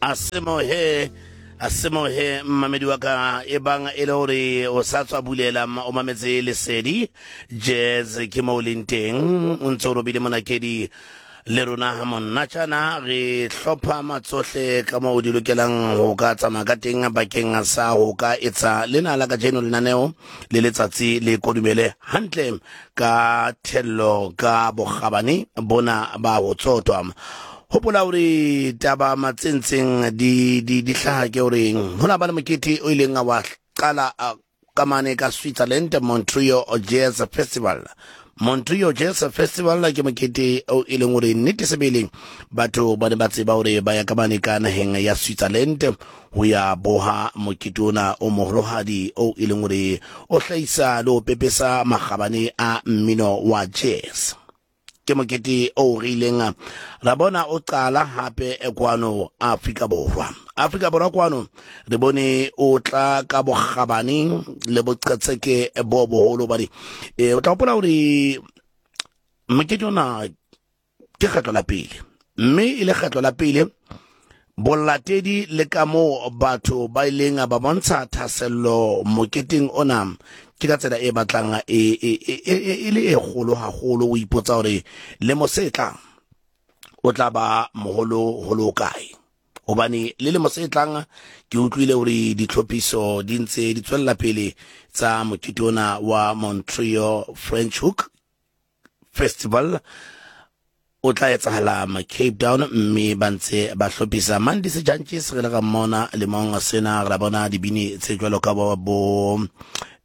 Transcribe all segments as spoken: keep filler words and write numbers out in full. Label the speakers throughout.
Speaker 1: Asemo he asemo he mmamedi wa ka e bang e le hore o sa tswa bulela o mametse Lesedi Jazz, ke mo o leng teng o ntse o robile monakedi le rona ha monnatjana re hlopha matsohle ka moo di lokelang ho ka tsamaya ka teng bakeng sa ho ka etsa lena la kajeno lenaneo le letsatsi le kodumele hantle ka thello ka bokgabane bona ba ho tsotwa. Hopola hore taba matsentseng di di di hlaha ke hore hona ba le mokete o ileng wa qala ka mane ka Switzerland, Montreux Jazz Festival. Montreux Jazz Festival ke mokete o e leng hore nnete sebele batho ba ne ba tseba hore ba ya ka mane ka naheng ya Switzerland ho ya boha mokete ona o moholohadi o e leng hore o hlahisa le ho pepesa makgabane a mmino wa jazz. Ke mokete o re ileng ra bona o qala hape kwano Afrika Borwa. Afrika Borwa kwano re bone o tla ka bokgabane le boqhetseke bo boholo bane. E o tla hopola hore mokete ona ke kgetlo la pele, mme e le kgetlo la pele bolatedi le ka moo batho ba ileng ba bontsha thahasello moketeng ona ke ka tsela e batlang e e e le e kgolo haholo. O ipotsa hore lemo se tlang o tla ba moholo holo kae, hobane le lemo se tlang ke utlwile hore ditlhophiso di ntse di tswella pele tsa mokete ona wa Montreux French Hook Festival o tla etsahala Cape Town, mme ba ntse ba hlophisa Mandisi Jantjies re le ga mmona lemong sena re bona dibini tse jwalo ka bo bo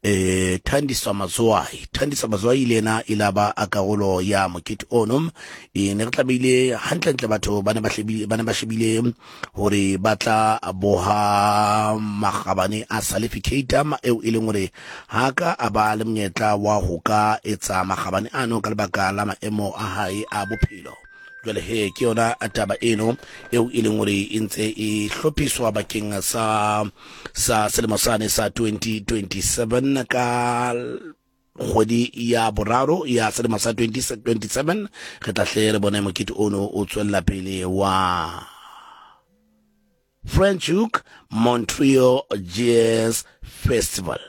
Speaker 1: eh Thandiswa Mazwai. Thandiswa Mazwai le yena e la ba a karolo ya mokete ono. E ne re tlamehile hantlentle batho ba ne ba hlebile ba ne ba shebile hore ba tla boha makgabane a Salifi Keita eo e leng hore ha ka a ba le monyetla wa ho ka etsa makgabane ano ka lebaka la maemo a hae a bophelo. Jwale he ke yona taba eno eo e leng hore e ntse e hlophiswa bakeng sa sa selemo sane sa twenty twenty-seven ka kgwedi ya boraro ya selemo sa twenty twenty-seven. Re tla hle re bone mokete ono o tswella pele wa French Hook Montreux Jazz Festival.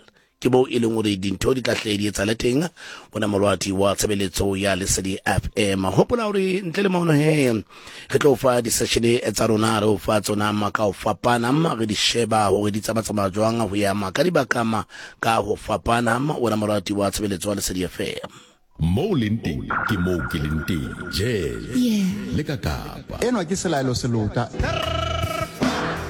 Speaker 1: Ke bo e leng hore dintho di tla hle di etsahale teng bona molwati wa tshebeletso ya Lesedi F M. Hopola hore ntle le mono he re tlo fa di-session tsa rona, re o fa tsona ma ka ho fapana, re di sheba hore di tsamatsamaya jwang ho ya ma ka dibaka ma ka ho fapana. Wena molwati wa tshebeletso wa Lesedi F M.
Speaker 2: Mo leng teng ke mo ke leng teng. Jazz le ka Kapa.
Speaker 3: Enwa ke Selaelo Selota.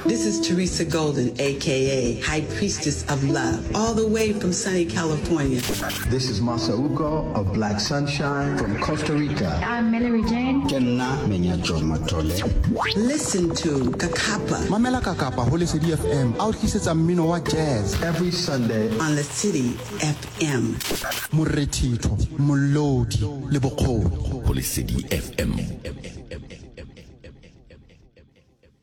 Speaker 4: This is Teresa Golden, A K A High Priestess of Love, all the way from sunny California.
Speaker 5: This is Masauko of Black Sunshine from Costa Rica.
Speaker 6: I'm Mallory Jane.
Speaker 5: Kenna Menyacho Matole.
Speaker 4: Listen to Kakapa.
Speaker 3: Mamela Kakapa ho Lesedi F M. A o tlisetsa mmino wa jazz
Speaker 5: every Sunday
Speaker 4: on Lesedi F M.
Speaker 3: Morethitho, molodi le bokgoni
Speaker 2: ho Lesedi F M.